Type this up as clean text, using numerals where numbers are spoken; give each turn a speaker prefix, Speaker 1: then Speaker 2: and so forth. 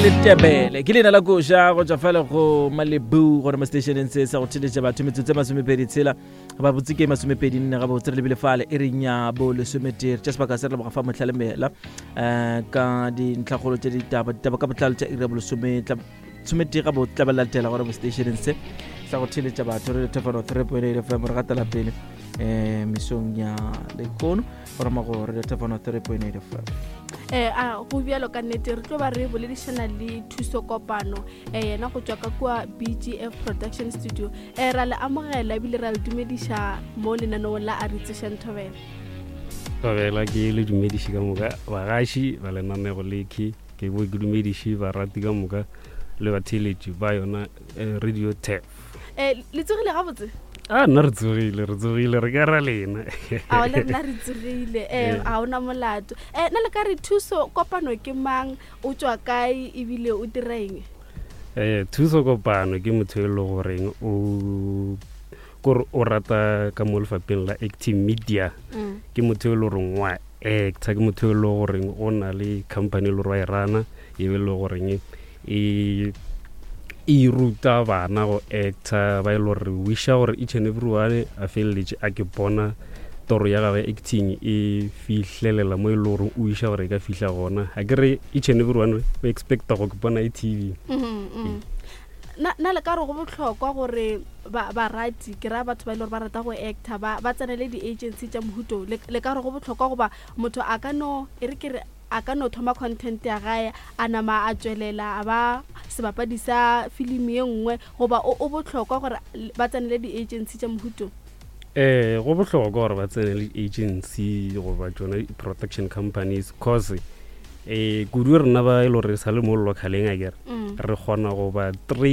Speaker 1: Letebele ke leina la koša go tšwa fale go Malibu gore mo stationeng se sa go theletša batho metsotso e masomepedi tshela ba botse ke masomepedi nne ga botse re lebile fale e reng ya bo lesometee tša sebaka se re leboga fa motlhalemela um ka dintlhakgolo tša ditaba ditaba ka botlalo tša iri ya bolesome sometee ga botse tla ba latela gore mo stationeng se sa go theletša batho re lethefano 3.8 fm re gatela pele um mesong ya lekgono go rama go re lethefano 3.8 fm
Speaker 2: eh a go bjalo ka nnete re tlo ba re boledišana le thuso kopano eh yena go tšwa ka kua BGF Production Studio. Eh ra le amogela ebile ra le dumediša mo lenaneong la a re tsošang thobela.
Speaker 3: Thobela ke le dumediše ka moka bagaši ba lenanego lekhe ke bo ke dumediše barati ka moka le batheeletši ba yona eh, radio tef.
Speaker 2: Eh le tsogile gabotse?
Speaker 3: A nna re tsogile, re tsogile, re ka ra lena.
Speaker 2: A le rena re tsogile, eh a ona molato. Eh na le ka re thuso kopano ke mang, o tšwa kae ebile o dira eng?
Speaker 3: Eh thuso kopano ke motho e le goreng o kore o rata ka mo lefapheng la acting media. Ke motho e le goreng wa actor, ke motho e le goreng o na le company e le gore wa e rana, e be e le goreng e e ruta bana go actor ba e le gore wisha gore each and every one a feleletše a ke bona toro ya gagwe acting e fihlelela mo e le gore o iša gore e ka fihla gona a ke re each and every one o expecta go ke bona e tv.
Speaker 2: Na le ka re go bohlokwa gore barati ke raya batho ba e le gore ba rata go actor ba tsenele di-agency tša mohuto le ka re go bohlokwa goba motho a ka no e re ke re A ka no thoma content ya gae a nama a tšwelela a ba sebapadi sa filimi ye nngwe goba o o bohlokwa gore ba tsenele di-agency tša mohuto?
Speaker 3: Ee, go bohlokwa gore ba tsenele di-agency goba tšona di-production companies cause um kudu rena ba e le gore re sa le mo localeng akere re kgona go ba train.